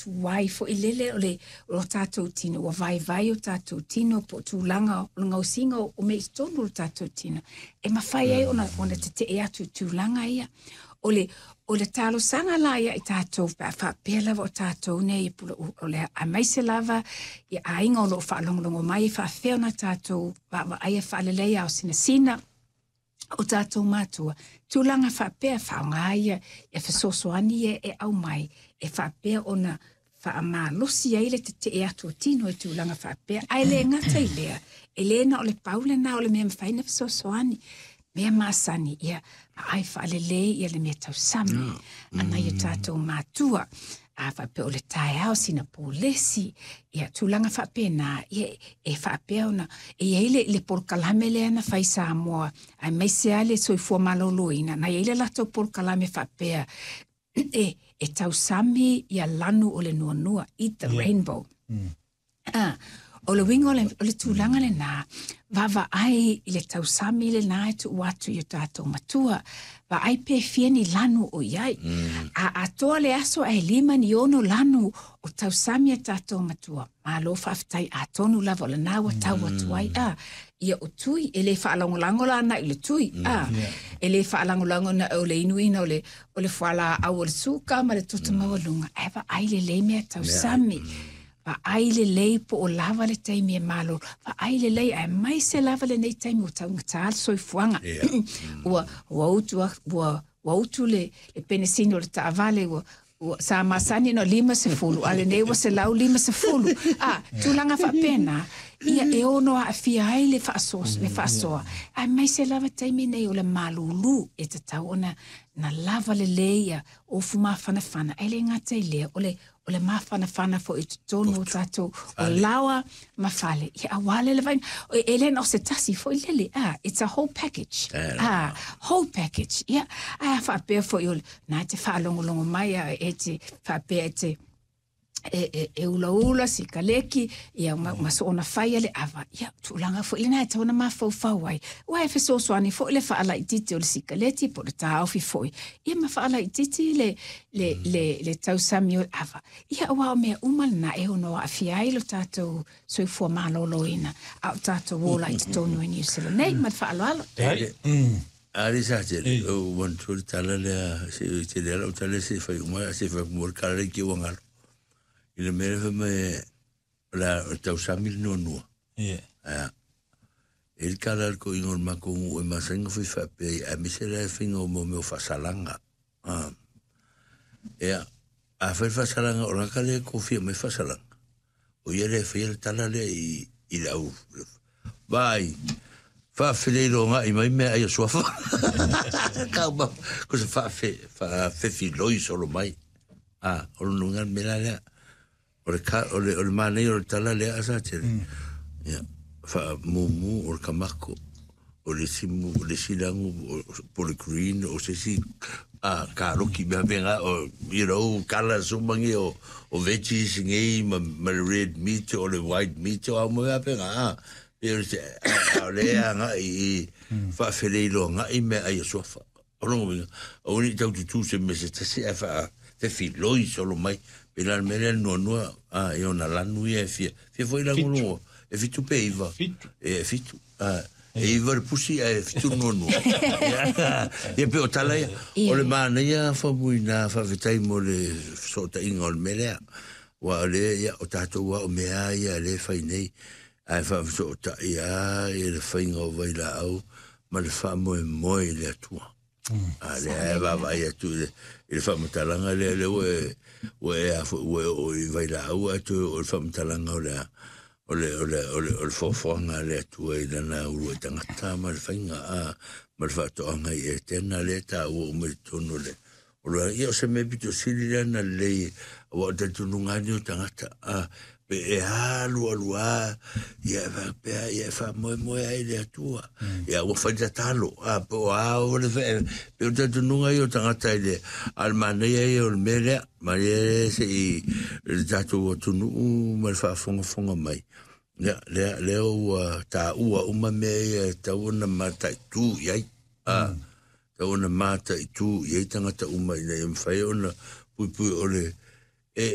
tuai foi lele o le o lo tatou tino, ua vaivai o tatou tino po o tulaga o le gaosiga o mea i totonu o le tatou tino, e mafai ai ona tetee atu i tulaga ia. O le talosaga la ia i tatou, pe a faapea lava o tatou nei o le aemaise lava i aiga o lo o faalogologo mai, e faafefea ona tatou vaavaaia faaleleia o sinasina o tatou matua, tulaga faapea, faaaoga ia fesoasoani ia e aumai e faapea ona faamalosi ai le tetee atu o tino i tulaga faapea. Ae le gata i lea, e le na o le pau lena o le mea mafai na fesoasoani. Mea masani ia vaai faalelei ia le mea tausami a nai o tatou matua, a faapea o le taeao sina polesi, ia tulaga faapena ia e faapea ona e i ai le polokalame lea na fai Samoa, aemaise lava le soifua maloloina, na i ai le latou polokalame faapea e tausami ia lanu o le nuanua, eat the rainbow. Ah, o le uiga o le tulaga lena, vaavaai i le tausami lena e tuu atu i o tatou matua, vaai pe fia ni lanu o i ai. A atoa le aso ae 5 ni 6 lanu o tausami a tatou matua, malo faafetai, atonu lava o lena ua tau atu ai. A ia o tui e le faalagolago la na i le tui, a e le faalagolago na o le inuina o le fualaau o le suka ma le toto maualuga, ae vaai lelei mea tausami. Vaai lelei po o lava le taimi e malo. Vaai lelei, aemaise lava lenei taimi ua taugata le soifuaga. Ua utu ua utu le penesini o le taavale, ua sa masani no 50, a lenei ua 150. A, tulaga faapena, ia e ono aafia ai le faasoa, le faasoa. Aemaise lava taimi nei o le malulu e tatau ona na lava lelei ia ofu mafanafana. Ae le gata i lea, o le mafanafana foi i totonu o tatou o laoa ma fale. Ia aua le vaina. E le na o se tasi foi lele. Ah, it's a whole package. Ah, whole package. Ia, ae a faapea foi o le, na te faalogologo mai a e te faapea e te e ulaula sikaleki ia ma soona faia le ava, ia tulaga foi lena e tatau ona mafaufau ai, ua e fesoasoani foi le faalaititi o le sikaleti po o le taofi foi ia ma faalaititi le tausami o le ava, ia aua o mea uma lena e ono aafia ai lo tatou soifua maloloina a o tatou ola i totonu e Niu Sila nei. Ma le faaaloalo. Ali sa tele, o manatua le tala lea, se tele ala o tala se fai uma, se fai mo le kala le ki wangalo. I le mea fa me la o tausami le nuanua. Aia. E le kala le ko ingo le mako ngu e masainga fui whape, a mise le finga o mo meo whasalanga. Ah. Ea, a fai whasalanga, o laka le kofia mai whasalanga. O ia le fai le tala le i le au. Vai, faafeleilo ga'i mai mea ai o suafa. Kau ma, ko se faafefiloi solo mai. A, o le nunga mea lea. O le, ka, o le manei o le tala lea a sa tele. Ia, faamumu o le kamako. O le simu, o le silagu, o po le green, o se isi a karoki mea venga, o, colours uma ngi o veggies ngi, ma le red meat, o le white meat, o au mea venga, a. Pe o se, a, o le a nga i, faafeleilo nga i mea ai o suafa. O longo winga, o ni tau tutu se me se tasi a fa fefiloi solo mai. Pe la mea lea nuanua, a, e ona lanu ia e fia. Fia foi la ngolo, e 7 pe 9. 7. E 7. A, e 9 le pusi a e 7 nuanua. Ia pe o tala ia. O le manaia famuina faafetai mo le fesootaiga o le mea lea. Ua o lea ia o tatou a o mea ia le fai nei. Ae faafesootai a i le faiga o vailaau ma le faamoemoe i le Atua. A lea e vaavaai atu i le faamatalaga lea lea ua e a foi ua e oo i vailaau ae toe oo i le faamatalaga o le o le o le o le o le foafoaga a le Atua i lana uluai tagata ma le faiga a ma le faatoaga i Etena lea taua uma i totonu o le o le ia o se mea pito sili lea na lelei aua o talitonuga ni o tagata a pe e alu alu a ia e faapea ia e faamoemoe ai le Atua ia ua fai tatalo a pe o a o le fe pe o talitonuga ia o tagata i le a le manaia ia o le mea lea ma ia se i le tatou atunuu ma le faafogafoga mai ia lea lea ua taua uma mea ia e tatau ona mataitu i ai a tatau ona mataitu i ai tagata uma ina ia mafai ona puipui o le e